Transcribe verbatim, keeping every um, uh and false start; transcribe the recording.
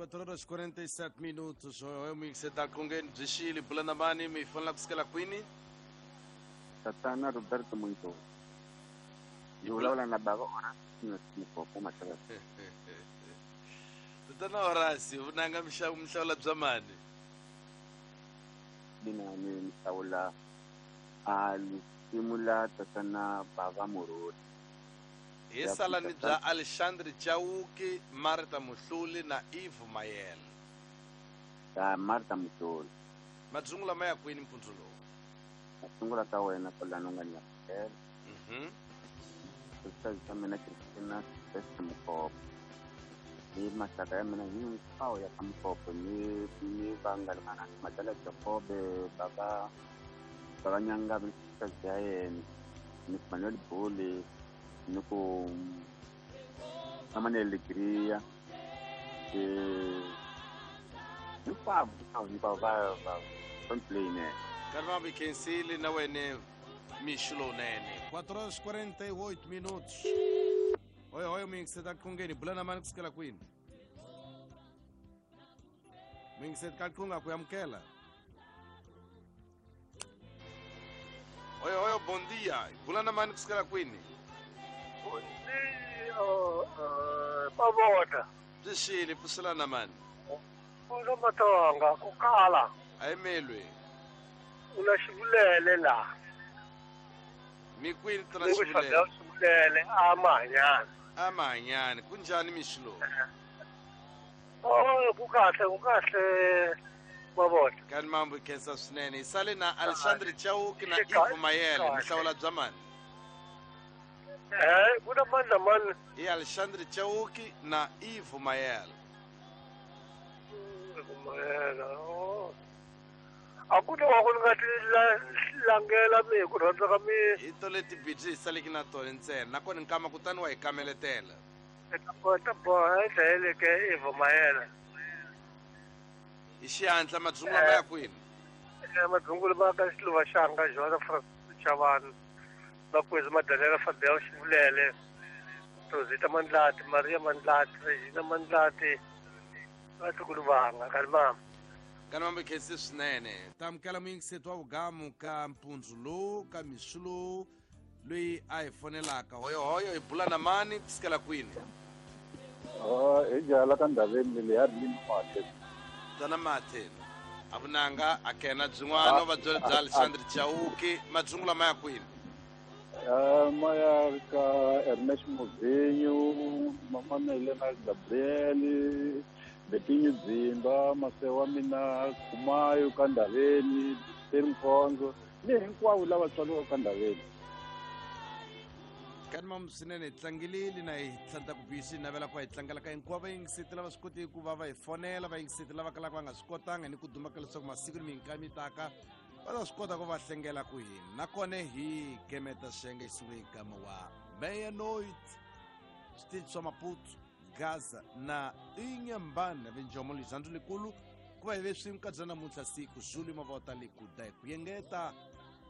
quatro horas e quarenta e sete minutos. Eu me sentar com quem de Chile, Bulanamani, me fala que Queen. Tatana Roberto Muito. Eu lá na baba ora Tatana Horácio, nanga mhlawula bya mani? Mina ni mhlawula a simula tatana baba Moroni. Hi salani bya Alexandre Chauke, Martha Muhluli na Eve Mayel. Ta Martha Muhluli. Madzungula maya kwini mpundzu lowu? Madzungula ka wena kwalano nga nyakela. Mhm. Sisi mina Christina Sesi Mkopo. Ni masaka ya mina hinkwawo ya ka Mkopo ni ni vanghana Madala Jacobe baba baba Nyanga sisi ya yena ni Manuel Bole ni ku Manuel Gria eh hinkwavo hinkwavo va va complain. Karma Bikensili na wena Michelonene. quatro horas e quarenta e oito minutos. Oi, oi, amigo, você tá com quem? Bulana mano que Queen. Amigo, você tá com a Kuyamkela. Oi, oi, bom dia. Bulana mano que Queen. Bom dia, pavota. Dishile, pusilana mano. Pulo matonga, kukala. Ai melwe. Una shibulele la. Mi kwini tana shibulele. Shibulele amanyane. Amanyane kunjani mishlo? Oh, kukahle kukahle mabona. Kani mambo ikhensa swinene. Isale na Alexandre Chauke na Eve Mayele mhlawula bya mani? Eh, kuna mani na mani? I Alexandre Chauke na Eve Mayele. Eve Mayele. Oh. Akuna wa ku nga ti langela mi ku rhandza ka mi hi to leti bidzi hi saleki na tona ntsena nakona nkama kutani wa hi kameletela ta boha dlayeleke Eve Mayele hi xihatla madzungula ma ya kwini? Madzungula ma ka Xiluva Xanga Joana Francis Chavani Makwezi Madalela Fabel Xivulele Rosita Mandlati Maria Mandlati Regina Mandlati vatukulu vanga kani mama. Kana mambo ikhensi swinene. Tamukela muyingiseti wa vugamu ka mpundzu lowu ka mixo lowu loyi a hi fonelaka hoyohoyo hi bula na mani ku sukela kwini? Hi jala ka ndhaveni leyi ya ri Mathe. Tana Mathe a vunanga a kena byin'wana va byela bya Alexandre Chauke. Madzungula ma ya kwini? Ma ya ka Ernest Movinho, Mama Helena Gabriel, Betinho Dzimba, Masewa mina Kumayo ka Ndhaveni, Teri Mkhonzo ni hinkwavo lava tswariwaka ka Ndhaveni. Kani mamu swinene hi tlangilile na hi tlanta ku bisi navela ku va hi tlangela ka hinkwavo vayingiseti lava swi kotiki ku va va hi fonela vayingiseti lava kalaka va nga swi kotanga ni ku duma ka leswaku masiku ni minkami taka va ta swi kota ku va hlengela ku hina nakona hi gemeta xenge hi sungule hi gama wa Meia-Noite switichi swa Maputo Gaza na Inhambane vinjomo lizandzu likulu ku va hi ve swin'we ka bya namuntlha siku Zulu mavota likuda hi ku yengeta